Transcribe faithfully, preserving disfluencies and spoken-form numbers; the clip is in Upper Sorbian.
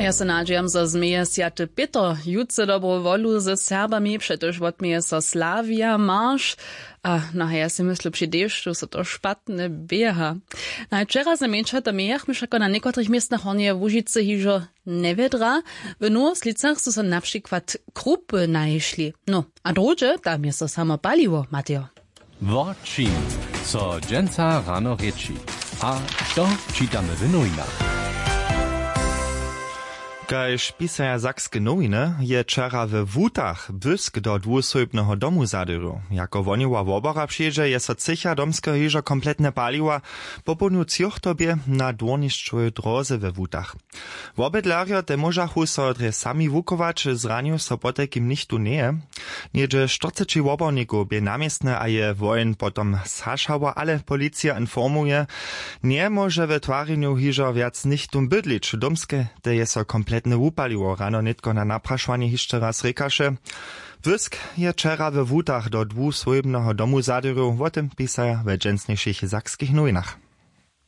Ja so nadźijam, zo změje swjaty pětr jutře dobru wolu ze Serbami, přetož wotměje so Slavia marš. A no, ja sej myslu při dešću so to špatne běha. Najwčera ze mjeńša to mějach my wšako na někotrych městnach Hornjeje Łužicy hižo njewjedra. W Nowoslicach su so na přikład krupy nahišli. No, a druhdźe tam je so samo paliło, Matejo. Wo čim so dźensa rano rěči a što čitamy w nowinach? Kaž pisaja sakske nowiny, je wčera we Wutach błysk do dwusójbneho domu zadyrju. Jako wohnjowa wobora přehdźe, je so třěcha domskeho hižo kompletnje paliła. Popołdnju třoch to bě na dwórnišćowej dróze we Wutach. Wobydlerjo te móžachu so drje sami wukować, zranił so potajkim nichtó njeje. Něhdźe štyrceći wobornikow bě na městnje a je woheń potom zhašała, ale policija informuje, njemóže we twarjenju hižo wjac nichtó bydlić. Domske te je so kompletnje wupaliło, rano nětko na naprašowanje hišće raz rěkaše. Błysk je wčera we Wutach do dwuswójbneho domu zadyrju, wo tym pisaja we dźensnišich sakskich nowinach.